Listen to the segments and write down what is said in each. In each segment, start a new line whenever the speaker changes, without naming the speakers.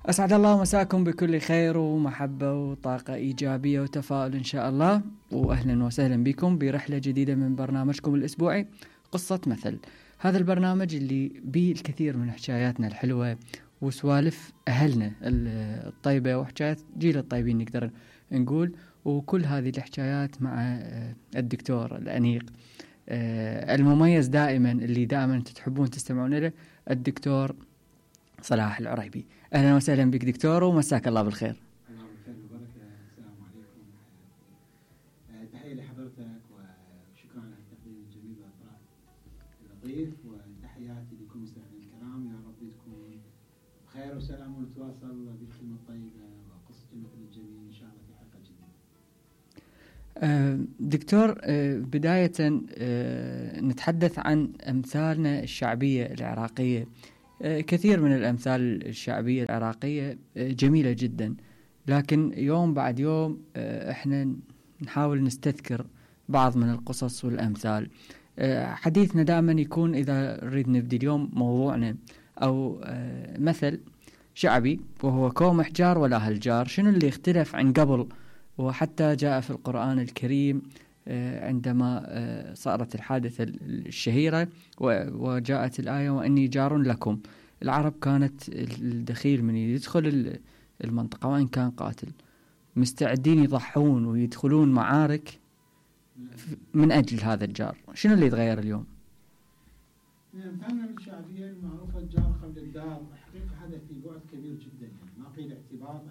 أسعد الله مساكم بكل خير ومحبة وطاقة إيجابية وتفاؤل إن شاء الله، وأهلا وسهلا بكم برحلة جديدة من برنامجكم الأسبوعي قصة مثل. هذا البرنامج اللي بيه الكثير من حكاياتنا الحلوة وسوالف أهلنا الطيبة وحكايات جيل الطيبين نقدر نقول، وكل هذه الحكايات مع الدكتور الأنيق المميز دائما اللي دائما تحبون تستمعون له، الدكتور صلاح العريبي. أهلا وسهلا بك دكتور ومساك الله بالخير.
الله بالخير وبركة. السلام عليكم. تحية لحضرتك وشكرا على التقديم الجميل والإطراء اللطيف، وتحياتي لكم مستمعين الكرام. يا رب تكون بخير وسلام ونتواصل بالكلمة الطيبة وقصة مثل الجميل إن شاء الله في حلقة جديدة.
دكتور، بداية نتحدث عن أمثالنا الشعبية العراقية. كثير من الأمثال الشعبية العراقية جميلة جدا، لكن يوم بعد يوم احنا نحاول نستذكر بعض من القصص والأمثال. حديثنا دائما يكون إذا نريد نبدي اليوم موضوعنا أو مثل شعبي وهو كوم احجار ولا هالجار، شنو اللي اختلف عن قبل؟ وحتى جاء في القرآن الكريم عندما صارت الحادثة الشهيرة وجاءت الآية وإني جار لكم. العرب كانت الدخيل من يدخل المنطقة وإن كان قاتل مستعدين يضحون ويدخلون معارك من أجل هذا الجار. شنو اللي يتغير اليوم؟
من أمثالنا الشعبية المعروفة الجار قبل الدار، حقيقة هذا في بعد كبير جدا، يعني ما قيل اعتبار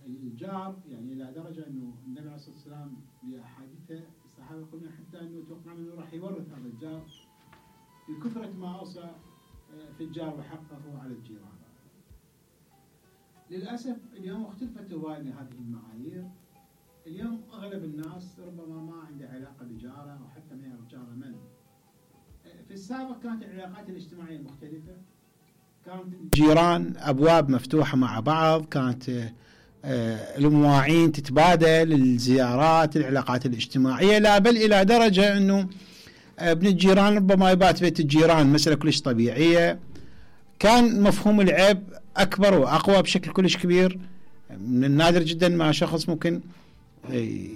الجار، يعني إلى درجة أنه النبي عليه الصلاة والسلام بأحاديثه الصحابة يقولون حتى أنه توقع أنه راح يورث هذا الجار بكثرة ما أوصى في الجار وحقه على الجيران. للأسف اليوم اختلفت هواية هذه المعايير. اليوم أغلب الناس ربما ما عنده علاقة بجاره أو حتى ما يعرف جاره من. في السابق كانت العلاقات الاجتماعية مختلفة، كانت الجيران أبواب مفتوحة مع بعض، كانت المواعين تتبادل، الزيارات، العلاقات الاجتماعية، لا بل إلى درجة أنه ابن الجيران ربما يبات بيت الجيران، مسألة كلش طبيعية. كان مفهوم العيب أكبر وأقوى بشكل كلش كبير. من النادر جدا ما شخص ممكن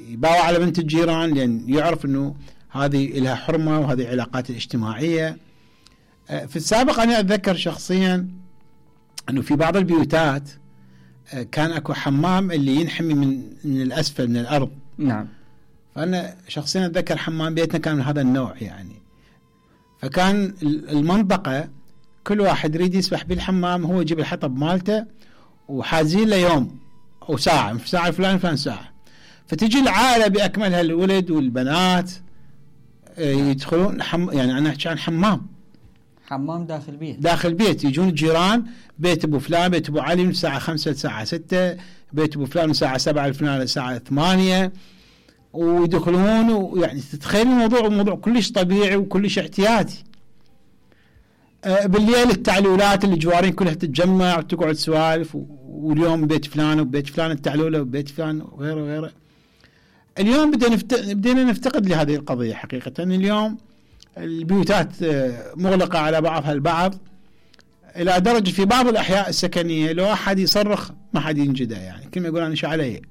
يباوع على بنت الجيران لأن يعرف أنه هذه لها حرمة وهذه علاقات الاجتماعية. في السابق أنا أتذكر شخصيا أنه في بعض البيوتات كان أكو حمام اللي ينحمي من الأسفل من الأرض.
نعم.
فأنا شخصيا أتذكر حمام بيتنا كان من هذا النوع يعني. فكان المنطقة كل واحد يريد يسبح بالحمام، هو يجيب الحطب مالته وحازين له يوم أو ساعة، في ساعة فلان ساعة. فتجي العائلة بأكملها، الولد والبنات يدخلون يعني أنا أحكي عن حمام داخل بيت. يجون الجيران، بيت أبو فلان، بيت أبو علي من الساعة 5 للساعة 6، بيت أبو فلان من الساعة 7 لفلان للساعة 8، ويدخلون. ويعني تتخيل موضوع كلش طبيعي وكلش احتياطي. بالليل التعلولات اللي جوارين كلها تتجمع وتقعد سوالف، واليوم بيت فلان وبيت فلان التعلولة وبيت فلان وغيره. اليوم بدينا نفتقد لهذه القضية حقيقة. اليوم البيوتات مغلقة على بعضها البعض، إلى درجة في بعض الأحياء السكنية لو أحد يصرخ ما حد ينجده، يعني كلمة يقول أنا شو علي.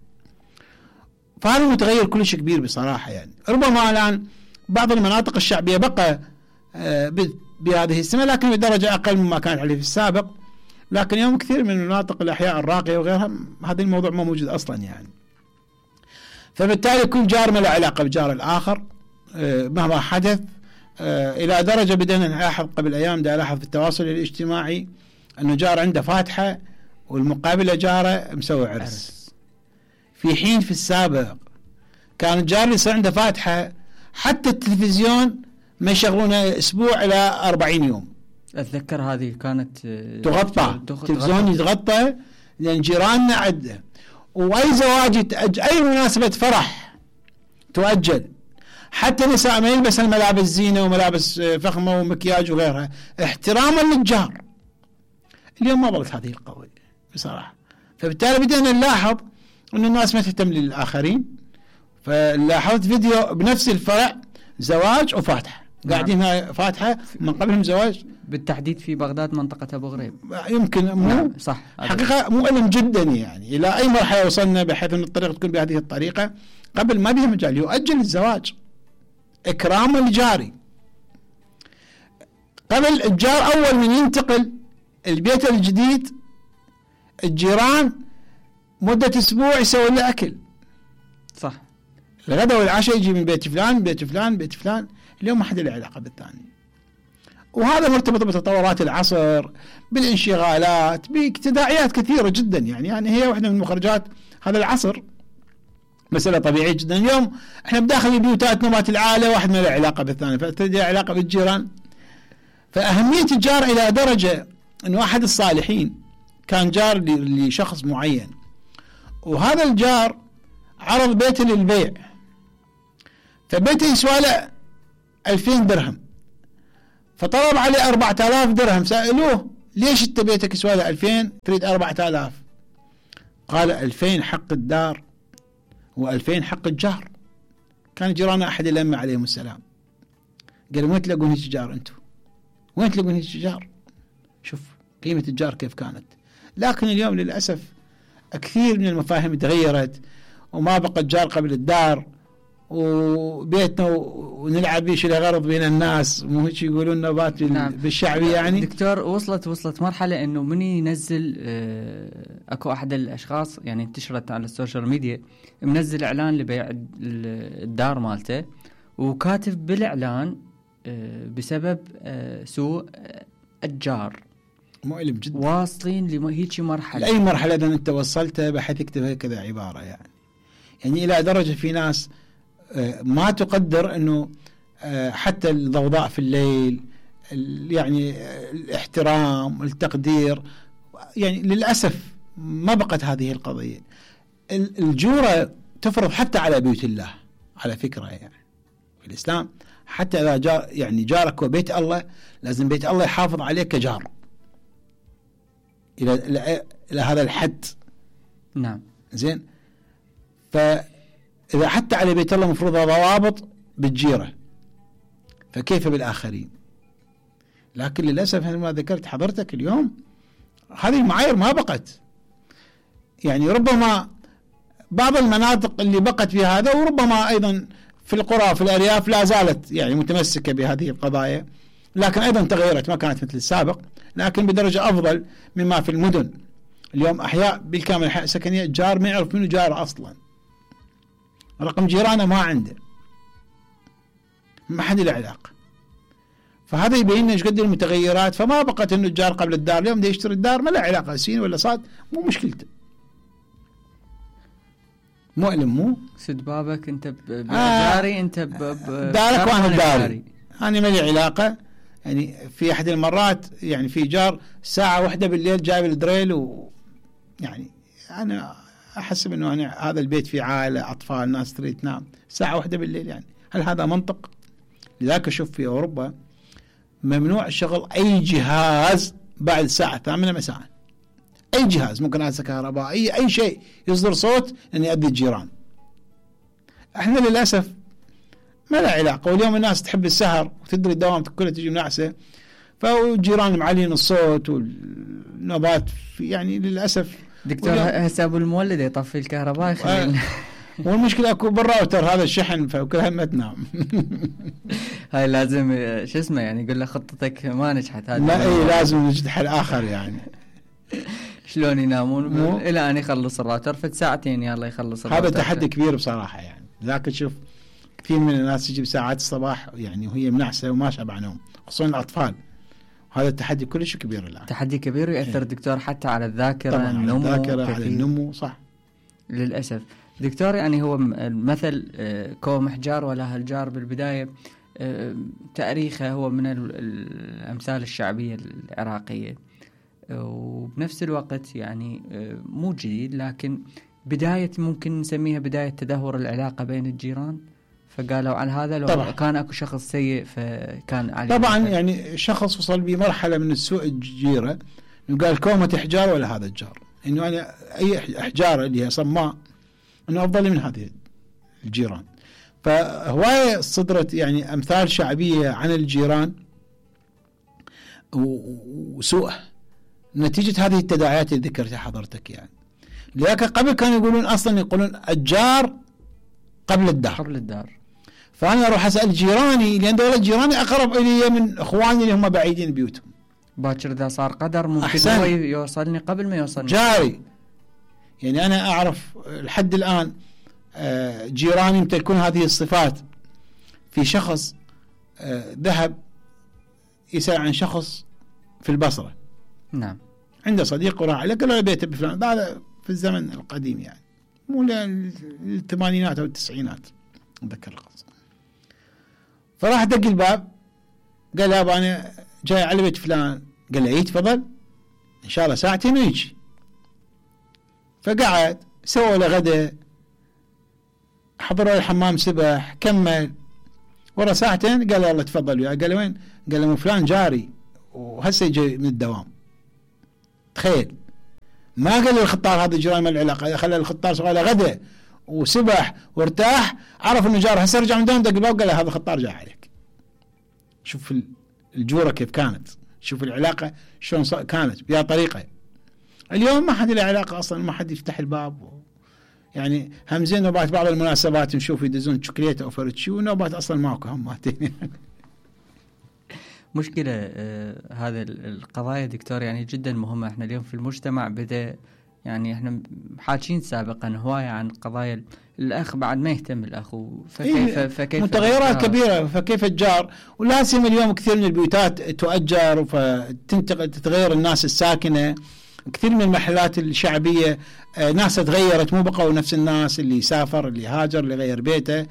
فهذا متغير كلش كبير بصراحة. يعني ربما الآن بعض المناطق الشعبية بقى بهذه السمة، لكن بدرجة أقل مما كانت عليه في السابق. لكن اليوم كثير من المناطق الأحياء الراقية وغيرها هذا الموضوع ما موجود أصلا يعني. فبالتالي كل جار ما له علاقة بجار الآخر مهما حدث. إلى درجة بدأنا نلاحظ قبل أيام ألاحظ في التواصل الاجتماعي أنه جار عنده فاتحة والمقابلة جاره مسوي عرس. في حين في السابق كان الجار اللي يصير عنده فاتحة حتى التلفزيون ما يشغلونه أسبوع إلى 40 يوم.
أتذكر هذه كانت
تغطى، التلفزيون يتغطى لأن جيراننا عده. وأي زواج أي مناسبة فرح تؤجل، حتى نساء ما يلبس الملابس زينة وملابس فخمة ومكياج وغيرها احتراما للجار. اليوم ما ظلت هذه القضية بصراحة. فبالتالي بدأنا نلاحظ أن الناس ما تهتم للآخرين. فلاحظت فيديو بنفس الفرع زواج وفاتحة، قاعدين هاي فاتحة من قبلهم زواج
بالتحديد في بغداد منطقة أبو غريب.
يمكن مو
نعم صح،
حقيقة مؤلم جدا يعني إلى أي مرحلة وصلنا بحيث أن الطريقة تكون بهذه الطريقة. قبل ما بها مجال يؤجل الزواج إكراما لجاري. قبل الجار أول من ينتقل البيت الجديد الجيران مدة أسبوع يسوي له أكل،
صح،
الغداء والعشاء يجي من بيت فلان بيت فلان بيت فلان. اليوم ما حد له علاقة بالثاني، وهذا مرتبط بتطورات العصر، بالانشغالات، بتداعيات كثيرة جدا. يعني هي واحدة من مخرجات هذا العصر، مسألة طبيعية جدا. اليوم احنا بداخل بيوتات نمات العائلة واحد ما له علاقة بالثاني، فتجي علاقة بالجيران. فأهمية الجار إلى درجة أنه أحد الصالحين كان جار لشخص معين، وهذا الجار عرض بيته للبيع، فبيته يسوى له 2000 درهم، فطلب عليه 4000 درهم. سألوه ليش انت بيتك يسوى له 2000 تريد 4000؟ قال 2000 حق الدار و2000 حق الجار. كان جيراننا أحد الأئمة عليهم السلام قال وين تلاقون هيك جار انتم؟ وين تلاقون هيك جار؟ شوف قيمة الجار كيف كانت. لكن اليوم للأسف كثير من المفاهيم تغيرت، وما بقى الجار قبل الدار، وبيتنا ونلعب بيه شيء غرض بين الناس، مو هيك يقولون نبات
نعم.
بالشعبي. يعني
دكتور وصلت مرحلة انه من ينزل اكو احد الاشخاص يعني انتشرت على السوشيال ميديا منزل اعلان لبيع الدار مالته، وكاتب بالاعلان بسبب سوء الجار.
مؤلم جدا.
واصلين لهيك مرحلة،
لأي مرحلة إذا أنت وصلتها بحيث يكتب هكذا عبارة يعني إلى درجة في ناس ما تقدر أنه حتى الضوضاء في الليل، يعني الاحترام التقدير. يعني للأسف ما بقت هذه القضية. الجورة تفرض حتى على بيوت الله على فكرة. يعني في الإسلام حتى إذا جار يعني جارك وبيت الله لازم بيت الله يحافظ عليك كجار إلى هذا الحد.
نعم
زين. فإذا حتى على بيت الله مفروض ضوابط بالجيرة، فكيف بالآخرين؟ لكن للأسف ما ذكرت حضرتك اليوم هذه المعايير ما بقت. يعني ربما بعض المناطق اللي بقت في هذا، وربما أيضا في القرى في الأرياف لا زالت يعني متمسكة بهذه القضايا، لكن أيضا تغيرت، ما كانت مثل السابق، لكن بدرجة أفضل مما في المدن. اليوم أحياء بالكامل أحياء سكنية جار ما يعرف منه جار أصلا، رقم جيرانه ما عنده، ما حد له علاقة. فهذا يبين لنا ايش قد المتغيرات. فما بقت انه الجار قبل الدار، اليوم ده يشتري الدار ما له علاقة سين ولا صاد، مو مشكلته، مؤلم. مو
سد بابك انت بجاري، انت
دارك وانا داري، انا ما لي علاقة. يعني في احد المرات يعني في جار ساعة واحدة بالليل جايب الدريل، يعني انا احسب انه أنا هذا البيت فيه عائلة اطفال ناس تريد تنام، ساعة واحدة بالليل، يعني هل هذا منطق؟ لذلك اشوف في اوروبا ممنوع شغل اي جهاز بعد الساعة 8 مساء. اي جهاز، ممكن هذا كهرباء، اي شيء يصدر صوت ان يؤذي الجيران. احنا للاسف ما له علاقة. واليوم الناس تحب السهر وتدري الدوام كلها تجي منعسة، فالجيران معلين الصوت والنوبات يعني للاسف.
دكتور هسه ابو المولد يطفي الكهرباء يخلي
والمشكلة اكو بالراوتر هذا الشحن، فكلها ما تنام.
هاي لازم شو اسمه يعني يقول له خطتك ما نجحت، هذا
لا اي لازم نجد حل اخر. يعني
شلون ينامون الى ان يخلص الراوتر فت ساعتين يلا يخلص الراوتر.
هذا تحدي كبير بصراحة. يعني لكن شوف كثير من الناس تجي بساعات الصباح يعني وهي منعسة وما شبع نوم، خصوصا الأطفال. هذا التحدي كلش كبير الآن،
تحدي كبير ويأثر دكتور حتى على الذاكرة،
على الذاكرة، على النمو. صح
للأسف دكتور. يعني هو مثل كوم حجار ولا هالجار بالبداية تاريخه هو من الأمثال الشعبية العراقية، وبنفس الوقت يعني مو جديد، لكن بداية ممكن نسميها بداية تدهور العلاقة بين الجيران. فقالوا على هذا لو طبعا كان اكو شخص سيء فكان عليه
طبعا يعني شخص وصل بمرحلة من السوء الجيرة، قال كومة احجار ولا هذا الجار، انه انا اي احجار اللي هي صماء انه افضل من هذه الجيران. فهواية صدرت يعني امثال شعبية عن الجيران وسوءه نتيجة هذه التداعيات اللي ذكرتها حضرتك يعني. لكن قبل كانوا يقولون أصلا يقولون الجار قبل الدار. فأنا أروح أسأل جيراني لأن دولة جيراني أقرب إلي من إخواني اللي هم بعيدين بيوتهم.
باكر إذا صار قدر ممكن هو يوصلني قبل ما يوصلني
جاري. يعني أنا أعرف لحد الآن جيراني يمتلكون هذه الصفات. في شخص ذهب يسأل عن شخص في البصرة.
نعم.
عنده صديق وراح له قال له بيته بفلان. هذا في الزمن القديم يعني مو الثمانينات أو التسعينات أتذكر القصة. فراح دق الباب قال له أنا جاي على بيت فلان. قال له تفضل إن شاء الله ساعتين ويجي. فقعد سووا له غدا حضروا الحمام سبح كمل ورا ساعتين قال له الله تفضل وياه. قال له وين؟ قال له فلان جاري وهسه يجي من الدوام. تخيل ما قال له الخطار هذا جيران ما العلاقه خلى الخطار سوى له غدا وسبح وارتاح عرف انه جار هسه رجع من دوام دق الباب قال له هذا الخطار جاء عليك. شوف الجوره كيف كانت. شوف العلاقه شلون كانت بهذه الطريقه. اليوم ما حد له علاقه اصلا ما حد يفتح الباب يعني همزين نوبات بعض المناسبات نشوف يدزون شوكليته او فرتشي ونوبات اصلا ماكو هماتين.
مشكلة هذا القضايا دكتور يعني جدا مهمة. احنا اليوم في المجتمع بدأ يعني احنا حاكين سابقا هواية عن قضايا الأخ بعد ما يهتم الأخ فكيف
متغيرات كبيرة. فكيف الجار ولا سيما اليوم كثير من البيوتات تؤجر فتنتقل تتغير الناس الساكنة. كثير من المحلات الشعبية ناس تغيرت مو بقوا نفس الناس اللي سافر اللي هاجر اللي غير بيته.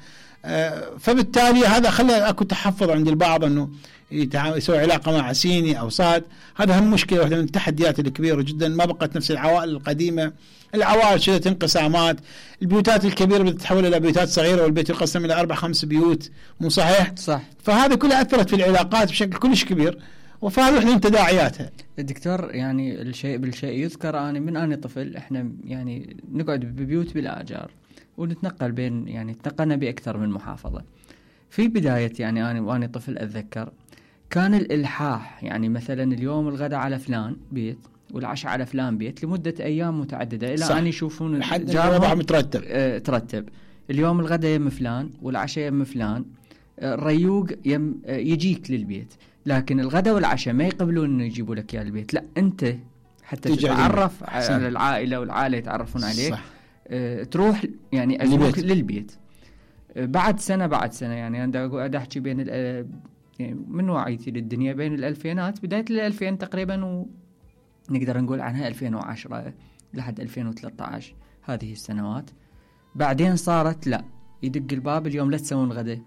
فبالتالي هذا خلى اكو تحفظ عند البعض انه يسوي علاقه مع عسيني او صاد. هذا هم مشكله واحده من التحديات الكبيره جدا. ما بقت نفس العوائل القديمه. العوائل شدت انقسامات. البيوتات الكبيره بتتحول الى بيوتات صغيره والبيت يقسم الى 4-5 بيوت. مو صحيح؟
صح.
فهذا كله اثرت في العلاقات بشكل كلش كبير وفهذه واحده من تداعياتها.
الدكتور يعني الشيء بالشيء يذكر. أنا من أنا طفل احنا يعني نقعد ببيوت بلا أجار ونتنقل بين يعني تنقلنا بأكثر من محافظة. في بداية يعني أنا وأنا طفل أتذكر كان الإلحاح يعني مثلا اليوم الغداء على فلان بيت والعشاء على فلان بيت لمدة أيام متعددة إلى أن يشوفون
جارهم
ترتب اليوم الغداء يم فلان والعشاء يم فلان. الريوق يجيك للبيت لكن الغداء والعشاء ما يقبلون إنه يجيبوا لك إياه البيت. لا أنت حتى تتعرف على العائلة والعائلة يتعرفون عليك. صح. تروح يعني للبيت بعد سنة يعني أنا أحكي بين يعني من وعيتي للدنيا بين الألفينات بداية الألفين تقريبا ونقدر نقول عنها 2010 لحد 2013 هذه السنوات. بعدين صارت لا يدق الباب اليوم لا تسوون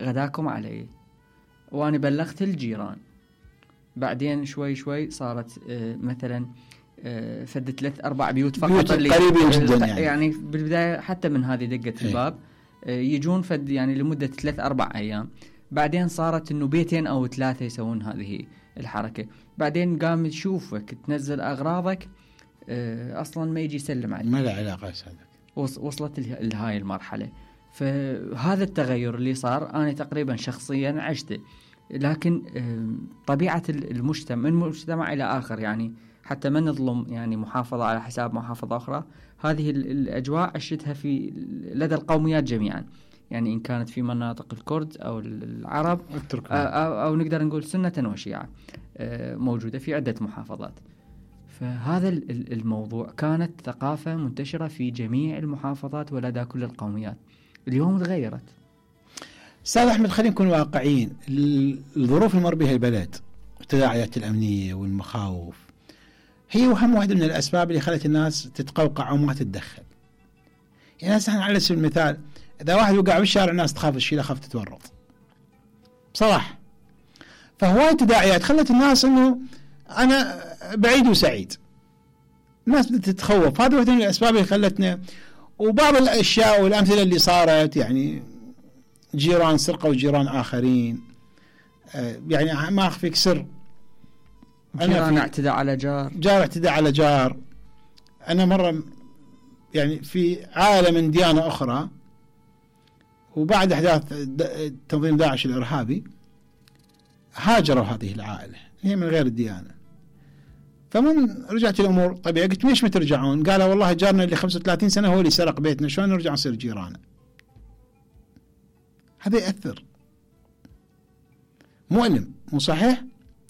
غداكم علي وأنا بلغت الجيران. بعدين شوي صارت مثلا فد 3-4 بيوت فقط اللي
قريبين جدا
يعني بالبداية حتى من هذه دقة الباب يجون فد يعني لمدة 3-4 أيام. بعدين صارت إنه 2 أو 3 يسوون هذه الحركة. بعدين قام تشوفك تنزل أغراضك أصلا ما يجي يسلم عليك.
ما له علاقة هذا.
وصلت لهاي المرحلة. فهذا التغير اللي صار أنا تقريبا شخصيا عشته. لكن طبيعة المجتمع من مجتمع إلى آخر يعني حتى ما نظلم يعني محافظة على حساب محافظة أخرى. هذه الأجواء عشتها في لدى القوميات جميعا يعني إن كانت في مناطق الكرد أو العرب أو نقدر نقول سنة وشيعة موجودة في عدة محافظات. فهذا الموضوع كانت ثقافة منتشرة في جميع المحافظات ولدى كل القوميات. اليوم تغيرت.
أستاذ أحمد خلينا نكون واقعيين. الظروف اللي مر بها البلد والتداعيات الأمنية والمخاوف هي وهم واحدة من الأسباب اللي خلت الناس تتقوقع وما تتدخل. يعني هسه على سبيل المثال إذا واحد وقع بالشارع الناس تخاف تشيله خاف تتورط بصراحة. فهواي تداعيات خلت الناس إنه أنا بعيد وسعيد. الناس بدأت تتخوف. هذا واحدة من الأسباب اللي خلتنا. وبعض الأشياء والأمثلة اللي صارت يعني جيران سرقوا جيران آخرين. يعني ما أخفيك سر
جيران اعتدى على
جار اعتدى على جار. أنا مرة يعني في عائلة من ديانة أخرى وبعد أحداث تنظيم داعش الإرهابي هاجروا هذه العائلة هي من غير الديانة. فمن رجعت الأمور طبيعي قلت ليش ما ترجعون؟ قالوا والله جارنا اللي 35 سنة هو اللي سرق بيتنا، شلون نرجع نصير جيرانه؟ هذا يأثر، مؤلم، مو صحيح؟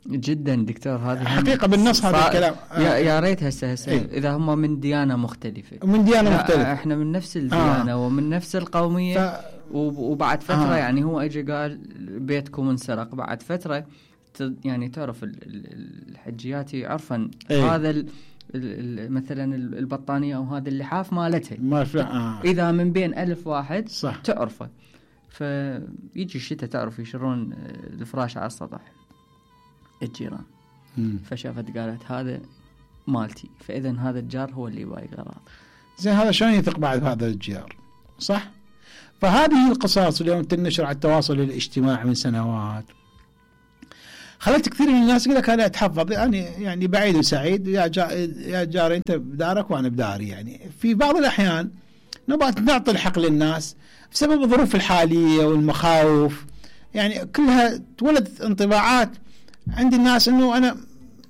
جدا دكتور، هذا
حقيقة بالنص هذا الكلام.
يا ريت هسه إذا هم من ديانة مختلفة،
من ديانة مختلفة،
احنا من نفس الديانة ومن نفس القومية وبعد فترة يعني هو اجى قال بيتكم انسرق، بعد فترة يعني تعرف الحجيات يعرفن هذا مثلا البطانية أو هذا اللحاف مالتها إذا من بين 1000 واحد
صح.
تعرفه، فيجي الشتاء تعرف يشرون الفراش على السطح الجيران. فشافت قالت هذا مالتي، فإذا هذا الجار هو اللي بايق غراض.
زين هذا شلون يثق بعد هذا الجار؟ صح. فهذه القصص اليوم تنشر على التواصل الاجتماعي من سنوات خلت كثير من الناس يقول لك انا اتحفظ، يعني بعيد وسعيد، يا جاري انت بدارك وانا بداري. يعني في بعض الاحيان نبغى نعطي الحق للناس بسبب الظروف الحاليه والمخاوف، يعني كلها تولد انطباعات عند الناس انه انا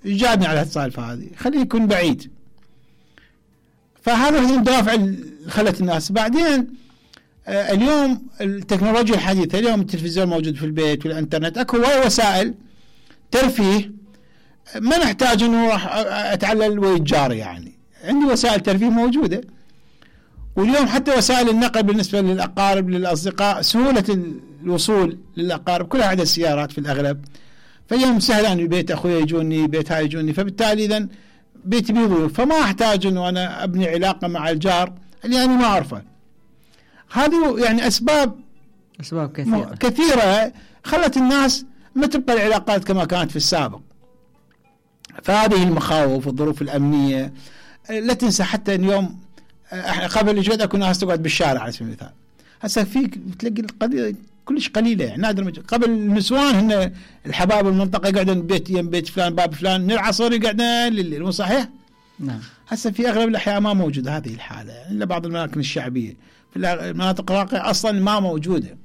جابني على السالفه هذه، خليه يكون بعيد. فهذا هو الدافع اللي خلت الناس. بعدين اليوم التكنولوجيا الحديثه، اليوم التلفزيون موجود في البيت والانترنت، اكو وسائل ترفيه ما نحتاج انه راح اتعلل ويتجار، يعني عندي وسائل ترفيه موجوده. واليوم حتى وسائل النقل بالنسبه للاقارب للاصدقاء، سهوله الوصول للاقارب كلها عدا السيارات في الاغلب، فاليوم سهل ان بيت اخوي يجوني، بيت هاي يجوني، فبالتالي اذا بيتي بيضيف، فما احتاج انه انا ابني علاقه مع الجار اللي انا ما اعرفه. هذه يعني اسباب كثيره خلت الناس ما تبقى العلاقات كما كانت في السابق. فهذه المخاوف والظروف الأمنية. لا تنسى حتى اليوم قبل الجود اكو ناس تقعد بالشارع على سبيل المثال، هسه فيك تلاقي القضية كلش قليلة، يعني نادر. قبل النسوان هن الحباب المنطقة يقعدون بيت يم بيت فلان باب فلان، من العصر يقعدون لليل، مو صحيح؟
نعم.
هسه في أغلب الأحياء ما موجودة هذه الحالة، يعني إلا بعض المناطق الشعبية، في المناطق الراقية أصلا ما موجودة.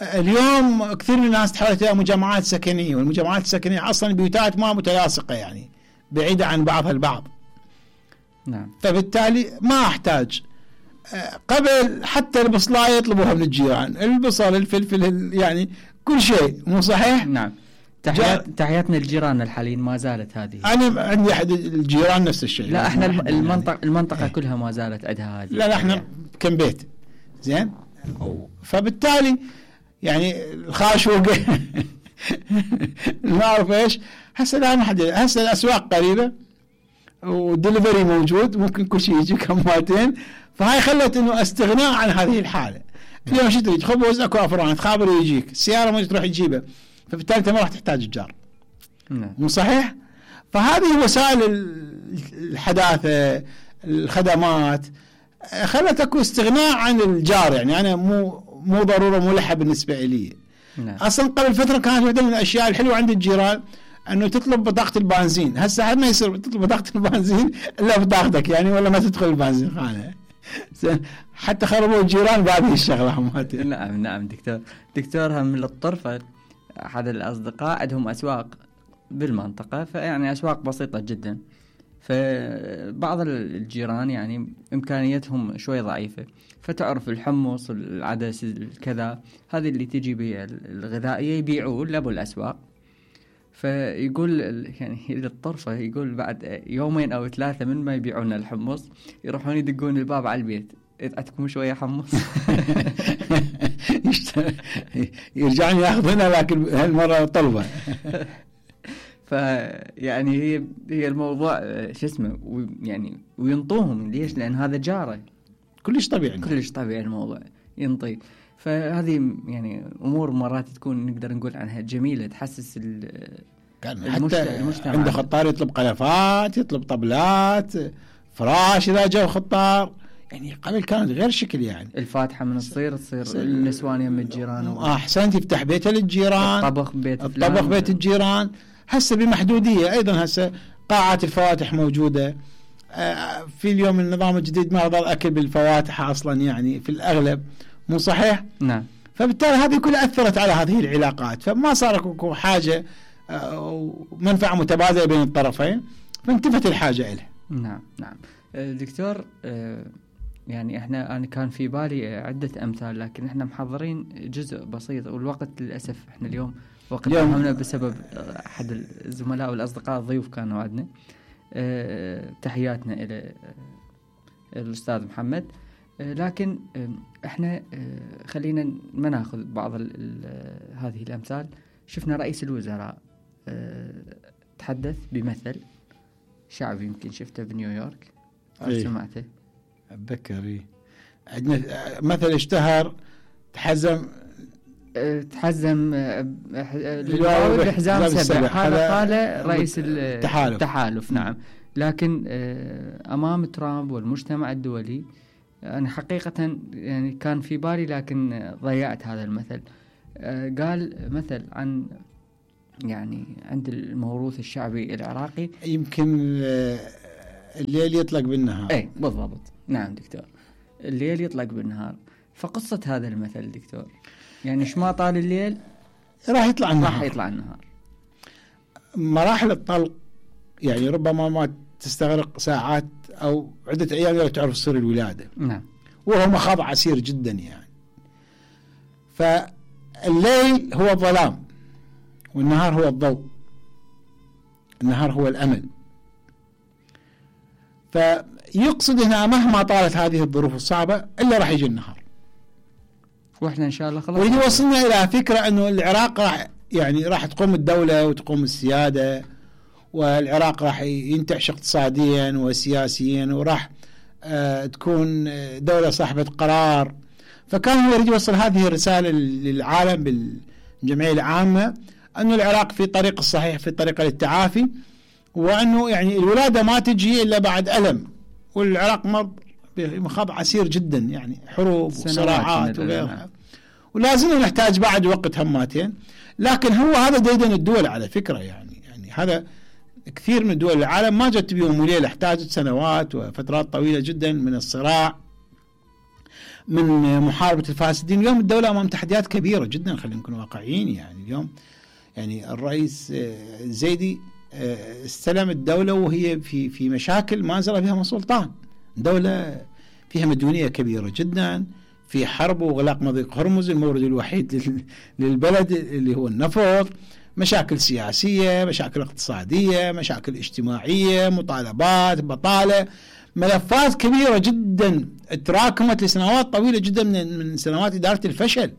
اليوم كثير من الناس تحولت إلى مجمعات سكنية، والمجمعات السكنية أصلا بيوتات ما متلاصقة، يعني بعيدة عن بعضها البعض.
نعم.
فبالتالي ما أحتاج. قبل حتى البصلاية يطلبوها من الجيران، البصل الفلفل يعني كل شيء، مو صحيح؟
نعم. تحياتنا للجيران الحاليين ما زالت هذه.
أنا عندي أحد الجيران نفس الشيء.
لا احنا المنطقة كلها ما زالت عندها هذه.
لا احنا كم بيت زين، فبالتالي يعني الخاشوق ما أعرف إيش. هسه لا أحد، هسه الأسواق قريبة ودليفري موجود، ممكن كل شيء يجي كماتين. فهاي خلت إنه استغناء عن هذه الحالة. اليوم شو تريد؟ خبز أكو أفران، تخابر يجيك، السيارة ما تروح تجيبها، فبالتالي أنت ما راح تحتاج الجار. مو صحيح؟ فهذه وسائل الحداثة، الخدمات خلت أكو استغناء عن الجار. يعني أنا مو ضرورة ملحة بالنسبة لي. أصلا قبل فترة كانت واحدة من الأشياء الحلوة عند الجيران أنه تطلب بطاقة البنزين. هسه ما يصير تطلب بطاقة البنزين إلا بطاقتك، يعني ولا ما تدخل البنزين خانة. حتى خربوا الجيران بهذه الشغلة.
نعم دكتور هم للطرفة أحد الأصدقاء عندهم أسواق بالمنطقة، فيعني أسواق بسيطة جدا، فبعض الجيران يعني إمكانيتهم شوي ضعيفة، فتعرف الحمص العدس الكذا هذه اللي تجي بها الغذائية يبيعوه لأبو الأسواق. فيقول يعني للطرفة يقول بعد يومين أو 3 من ما يبيعون الحمص يروحون يدقون الباب على البيت، عندكم شوية حمص؟
يرجعون ياخذونها، لكن هالمرة طلبة.
فيعني هي الموضوع شو اسمه، يعني وينطوهم. ليش؟ لأن هذا جاره،
كلش طبيعي
الموضوع ينطي. فهذه يعني أمور مرات تكون نقدر نقول عنها جميلة، تحسس
المجتمع. عنده خطار يطلب قلفات، يطلب طبلات، فراش إذا جاء خطار. يعني قبل كانت غير شكل، يعني
الفاتحة من تصير النسوان يم الجيران،
أحسنت يفتح بيته للجيران،
الطبخ
بيت الجيران. هسه بمحدودية أيضا. هسه قاعات الفواتح موجودة. في اليوم النظام الجديد ما ظل أكل بالفواتح أصلا، يعني في الأغلب، مو صحيح؟
نعم.
فبالتالي هذه كلها أثرت على هذه العلاقات، فما صار حاجة ومنفعة متبادلة بين الطرفين، فانتفت الحاجة إلها.
نعم نعم دكتور، يعني أنا كان في بالي عدة أمثال، لكن إحنا محضرين جزء بسيط والوقت للأسف إحنا اليوم وقت همنا بسبب أحد الزملاء والأصدقاء الضيوف كانوا عندنا. تحياتنا إلى الأستاذ محمد، لكن إحنا خلينا ما ناخذ بعض هذه الأمثال. شفنا رئيس الوزراء تحدث بمثل شعبي، يمكن شفته بنيويورك أو سمعته.
أتذكر عندنا مثل اشتهر، تحزم الحزام 7. هذا قال رئيس التحالف. نعم.
لكن أمام ترامب والمجتمع الدولي أنا حقيقة يعني كان في بالي لكن ضيعت هذا المثل. قال مثل عن يعني عند الموروث الشعبي العراقي،
يمكن الليل يطلق بالنهار.
اي بالضبط. نعم دكتور، الليل يطلق بالنهار. فقصة هذا المثل دكتور يعني ايش ما طال الليل
راح يطلع
النهار.
مراحل الطلق يعني ربما ما تستغرق ساعات أو عدة أيام لو تعرف سر الولادة.
نعم.
وهو مخاض عسير جدا يعني. فالليل هو الظلام والنهار هو الضوء، النهار هو الأمل. فيقصد هنا مهما طالت هذه الظروف الصعبة إلا راح يجي النهار،
واحنا إن شاء الله خلاص.
ويجي وصلنا إلى فكرة أنه العراق راح تقوم الدولة وتقوم السيادة، والعراق راح ينتعش اقتصاديا وسياسيا، وراح تكون دولة صاحبة قرار. فكان هو يريد يوصل هذه الرسالة للعالم بالجمعية العامة، أنه العراق في طريق الصحيح، في طريق للتعافي، وأنه يعني الولادة ما تجي إلا بعد ألم، والعراق مر بمخاض عسير جدا يعني حروب وصراعات وغيرها، ولازم نحتاج بعد وقت هماتين. لكن هو هذا ديدن الدول على فكرة يعني هذا كثير من دول العالم ما جت بيوم وليلة، احتاجت سنوات وفترات طويلة جدا من الصراع، من محاربة الفاسدين. اليوم الدولة أمام تحديات كبيرة جدا، خلينا نكون واقعيين. يعني اليوم يعني الرئيس الزيدي استلم الدولة وهي في مشاكل ما زال فيها من سلطان، دولة فيها مديونية كبيرة جدا، في حرب وغلاق مضيق هرمز المورد الوحيد للبلد اللي هو النفط، مشاكل سياسية، مشاكل اقتصادية، مشاكل اجتماعية، مطالبات، بطالة، ملفات كبيرة جدا تراكمت لسنوات طويلة جدا من سنوات إدارة الفشل.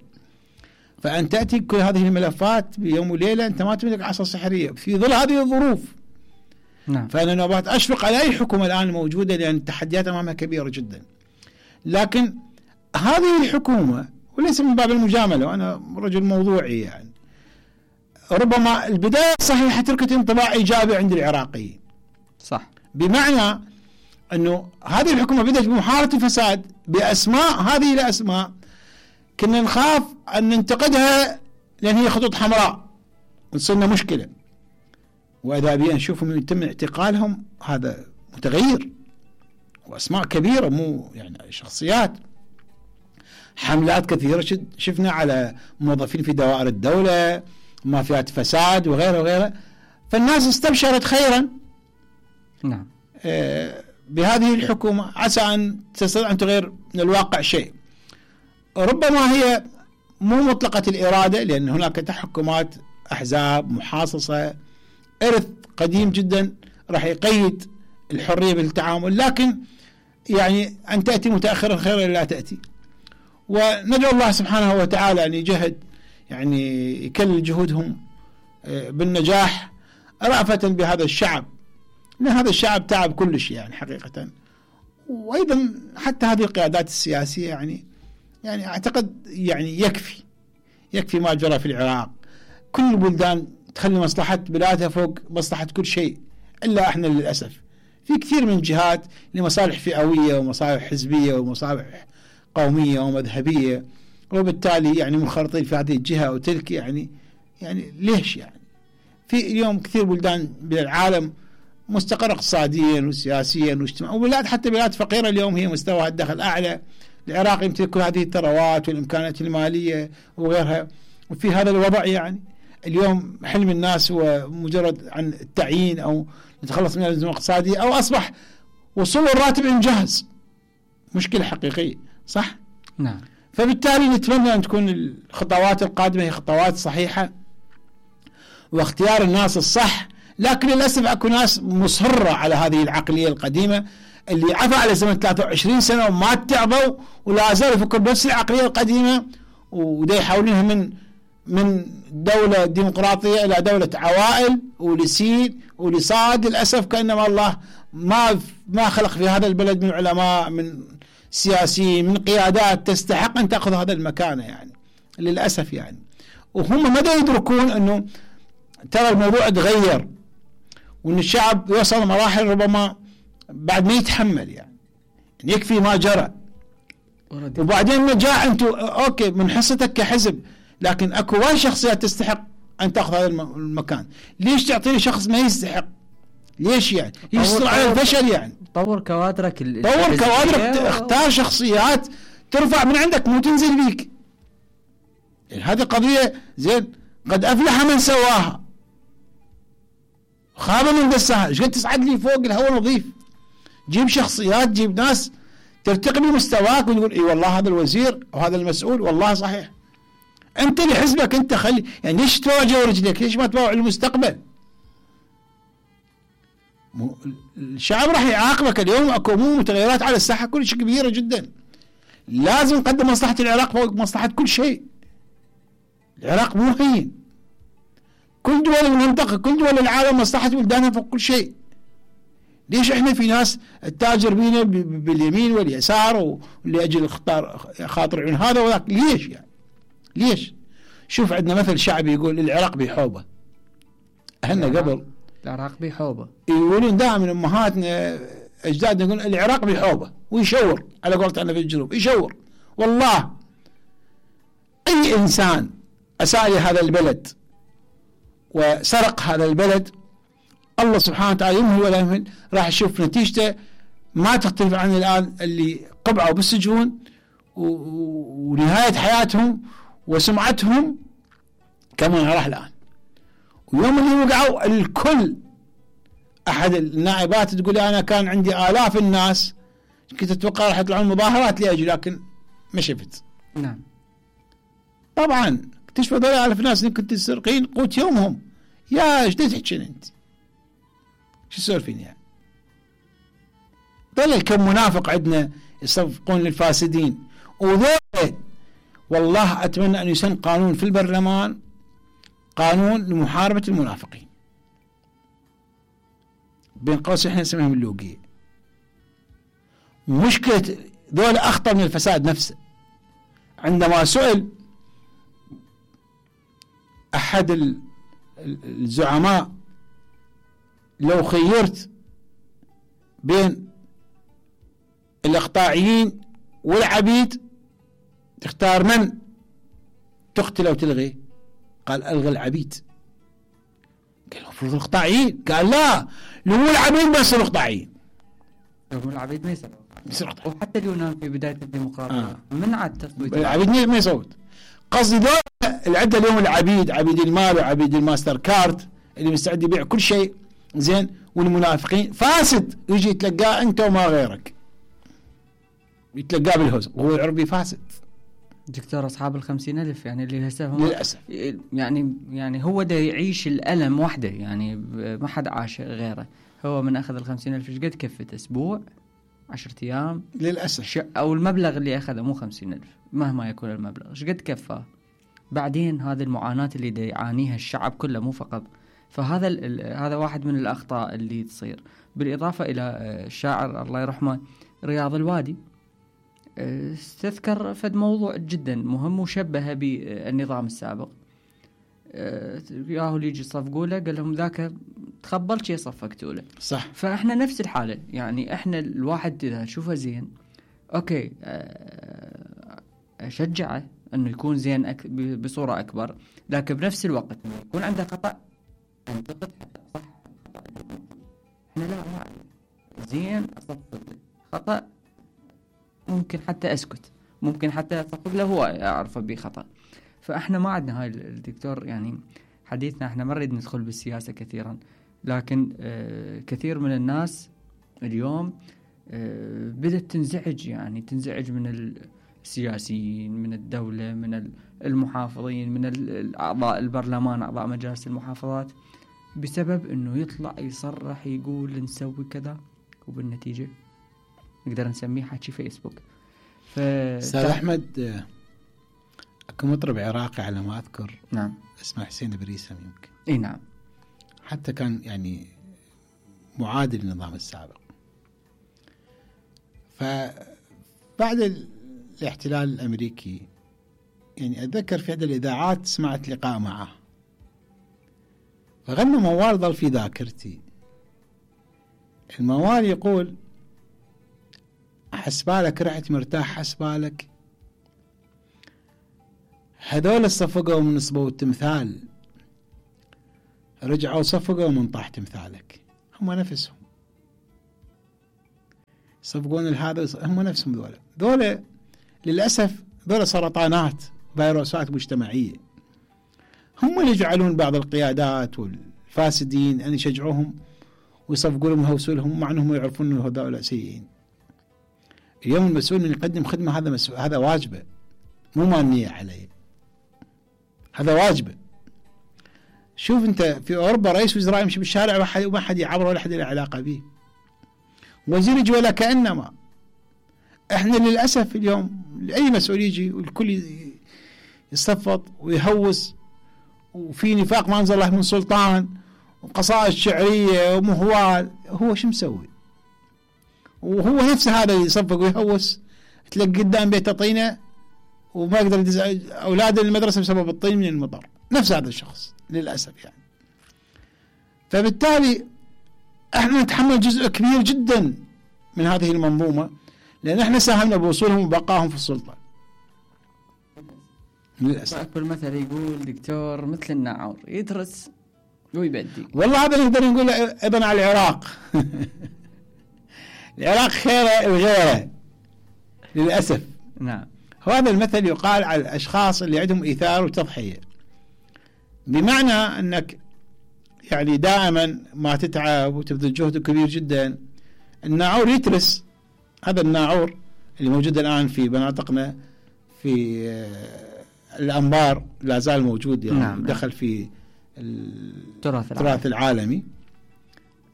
فأن تأتي كل هذه الملفات بيوم وليلة، أنت ما تملك عصا سحرية في ظل هذه الظروف.
نعم.
فأنا نبات أشفق على أي حكومة الآن موجودة، لأن التحديات أمامها كبيرة جدا. لكن هذه الحكومة، وليس من باب المجاملة وأنا رجل موضوعي، يعني ربما البداية صحيحة تركت انطباع إيجابي عند العراقيين.
صح.
بمعنى أنه هذه الحكومة بدأت بمحاربة الفساد بأسماء، هذه الأسماء كنا نخاف أن ننتقدها لأن هي خطوط حمراء وتصلنا مشكلة، وإذا بينا نشوفهم يتم اعتقالهم هذا متغير، وأسماء كبيرة مو يعني شخصيات. حملات كثيرة شفنا على موظفين في دوائر الدولة، مافيات فساد وغيره وغيره. فالناس استبشرت خيرا.
نعم.
بهذه الحكومة عسى أن تستطيع أن تغير من الواقع شيء. ربما هي مو مطلقة الإرادة، لأن هناك تحكمات أحزاب محاصصة، إرث قديم جدا راح يقيد الحرية بالتعامل. لكن يعني أن تأتي متأخرا خيرا لا تأتي، وندعو الله سبحانه وتعالى أن يجهد يعني يكلل جهودهم بالنجاح رأفة بهذا الشعب، لأن هذا الشعب تعب كل شيء يعني حقيقة. وأيضا حتى هذه القيادات السياسية يعني أعتقد يعني يكفي ما جرى في العراق. كل البلدان تخلي مصلحة بلادها فوق مصلحة كل شيء، إلا إحنا للأسف في كثير من جهات لمصالح فئوية ومصالح حزبية ومصالح قومية ومذهبية، وبالتالي يعني منخرطين في هذه الجهة وتلك. يعني ليش يعني في اليوم كثير بلدان بالعالم مستقر اقتصاديا وسياسيا واجتماعيا، وبلاد حتى بلاد فقيرة اليوم هي مستوى الدخل أعلى. العراق يمتلك كل هذه الثروات والإمكانات المالية وغيرها، وفي هذا الوضع يعني اليوم حلم الناس هو مجرد عن التعيين أو نتخلص من الأزمة الاقتصادية، أو أصبح وصول الراتب إنجاز، مشكلة حقيقية، صح؟
نعم.
فبالتالي نتمنى أن تكون الخطوات القادمة هي خطوات صحيحة واختيار الناس الصح، لكن للأسف أكو ناس مصرة على هذه العقلية القديمة اللي عفى على زمن 23 سنة وما تعبوا ولا زالوا يفكروا بنفس العقلية القديمة، ودا يحاولونها من دولة ديمقراطية إلى دولة عوائل ولسين ولصاد. للأسف كأنما الله ما خلق في هذا البلد من علماء، من سياسيين، من قيادات تستحق أن تأخذ هذا المكان يعني، للأسف يعني. وهم ما يدركون أنه ترى الموضوع تغير، وأن الشعب يوصل مراحل ربما بعد ما يتحمل يعني يكفي ما جرى. وبعدين ما جاء أنتم أوكي من حصتك كحزب، لكن أكو وايد شخصيات تستحق أن تأخذ هذا المكان. ليش تعطي شخص ما يستحق؟ ليش يعني؟ يشتغل على الفشل يعني.
طور كوادرك
اختار شخصيات ترفع من عندك مو تنزل بيك. يعني هذه قضية زين، قد أفلح من سواها خاب من دساها. ايش قد تصعد لي فوق الهواء نظيف؟ جيب شخصيات، جيب ناس ترتقي بمستواك وتقول اي والله هذا الوزير وهذا المسؤول والله صحيح. انت لحزبك انت خلي يعني، ليش تواجه رجلك؟ ليش ما تواجه المستقبل؟ الشعب راح يعاقبك. اليوم اكو متغيرات على الساحه كلش كبيره جدا، لازم نقدم مصلحه العراق فوق مصلحه كل شيء. العراق مو هين، كل دول المنطقه كل دول العالم مصلحه بلدانها فوق كل شيء. ليش احنا في ناس التاجر بينا باليمين واليسار واللي اجل خاطر عن هذا وذاك؟ ليش يعني؟ ليش؟ شوف عندنا مثل شعبي يقول العراق بحوبه. اهلنا قبل
العراق بحوبه
يقولون دائما امهاتنا اجدادنا يقولون العراق بحوبه، ويشور على قولتنا في الجنوب يشور. والله اي انسان اساء لهذا البلد وسرق هذا البلد الله سبحانه وتعالى يمهل ولا يمهل راح يشوف نتيجته، ما تختلف عن الآن اللي قبعوا بالسجون ونهاية حياتهم وسمعتهم كما راح الآن. ويوم اللي وقعوا الكل، أحد النائبات تقول أنا كان عندي آلاف الناس كنت أتوقع راح يطلعون مظاهرات لأجي، لكن ما شفت.
نعم
طبعا اكتشفوا ذول آلاف الناس اللي كنت تسرقين قوت يومهم. يا ايش تحكين انت؟ شو تسولفين يعني؟ ظل كم منافق عندنا يصفقون للفاسدين. وذول والله أتمنى أن يسن قانون في البرلمان، قانون لمحاربة المنافقين، بين قوسين احنا نسميهم اللوقية. مشكلة ذول أخطر من الفساد نفسه. عندما سئل أحد الزعماء لو خيرت بين الإقطاعيين والعبيد تختار من تقتل أو تلغي؟ قال ألغي العبيد. قال المفروض الإقطاعيين. قال لا، لو العبيد ما يصيروا إقطاعيين.
لو العبيد ما يصيروا. وحتى اليونان في بداية الديمقراطية منعت تصويت
العبيد ما يصوت. قصدي دول العدة اليوم العبيد، عبيد المال وعبيد الماستر كارت اللي مستعد يبيع كل شيء زين، والمنافقين فاسد يجي يتلقاه انت وما غيرك، يتلقاه بالهوز وهو العربي فاسد.
دكتور أصحاب 50,000 يعني اللي هسه هم
للأسف
يعني هو ده يعيش الألم وحده، يعني ما حد عاش غيره. هو من أخذ 50,000 ايش قد كفت؟ أسبوع 10 أيام
للأسف،
أو المبلغ اللي أخذه مو 50,000 مهما يكون المبلغ ايش قد كفاه. بعدين هذه المعاناة اللي دا يعانيها الشعب كله مو فقط. فهذا هذا واحد من الأخطاء اللي تصير. بالإضافة إلى الشاعر الله يرحمه رياض الوادي استذكر فد موضوع جدا مهم وشبهه بالنظام السابق. ياهو اللي يجي يصفقوا له قال لهم ذاك تخبل شي صفقتوا له.
صح.
فاحنا نفس الحالة، يعني احنا الواحد اذا شوفه زين اوكي اشجعه انه يكون زين بصورة اكبر، لكن بنفس الوقت يكون عنده خطأ انتقد حتى صح. احنا لا زين اصفق خطأ ممكن حتى اسكت، ممكن حتى اصفق له هو اعرفه بخطأ. فاحنا ما عندنا هاي الدكتور يعني حديثنا احنا ما نريد ندخل بالسياسة كثيرا، لكن كثير من الناس اليوم بدأت تنزعج، يعني تنزعج من السياسيين، من الدولة، من المحافظين، من الأعضاء البرلمان، أعضاء مجالس المحافظات، بسبب أنه يطلع يصرح يقول نسوي كذا، وبالنتيجة نقدر نسميه حكي فيسبوك.
أستاذ أحمد، أكو مطرب عراقي على ما أذكر،
نعم،
اسمه حسين بريسم يمكن،
اي نعم،
حتى كان يعني معادل للنظام السابق. فبعد الاحتلال الأمريكي يعني أتذكر في إحدى الإذاعات سمعت لقاء معه، فغنى موال ظل في ذاكرتي. الموال يقول: حسبالك رحت مرتاح، حسبالك هذول صفقوا من صبوا التمثال، رجعوا صفقوا من طاح تمثالك. هم نفسهم صفقون هذا، هم نفسهم ذولا للأسف ذولا سرطانات، فيروسات مجتمعية. هم اللي يجعلون بعض القيادات والفاسدين أن يشجعوهم ويصفقوا لهم ويهوسوا لهم، مع أنهم يعرفون أن هذول سيئين. اليوم المسؤول أن يقدم خدمة، هذا واجبه، مو مانية عليه، هذا واجبه. شوف أنت في أوروبا رئيس وزراء يمشي بالشارع وما حد يعبره ولا حد له علاقة به، وزير يجي ولا كأنما. احنا للأسف اليوم أي مسؤول يجي والكل يصفط ويهوس، وفي نفاق ما أنزل الله من سلطان، وقصائد شعرية ومهوال. هو شو مسوي؟ وهو نفسه هذا يصفق ويهوس، تلاقي قدام بيته طينة وما يقدر يدز أولاده للمدرسة بسبب الطين من المطر. نفس هذا الشخص للأسف يعني. فبالتالي احنا نتحمل جزء كبير جدا من هذه المنظومة، لأن احنا ساهمنا بوصولهم وبقائهم في السلطة للأسف.
أكبر مثل يقول دكتور مثل الناعور يدرس ويبدي.
والله هذا نقدر نقول ابن على العراق. العراق خيره وغيره للأسف.
نعم.
هذا المثل يقال على الأشخاص اللي عندهم إيثار وتضحية، بمعنى أنك يعني دائما ما تتعب وتبذل جهد كبير جدا. الناعور يترس، هذا الناعور اللي موجود الآن في مناطقنا في الأنبار لا زال موجود، يعني
نعم.
دخل في التراث العالمي.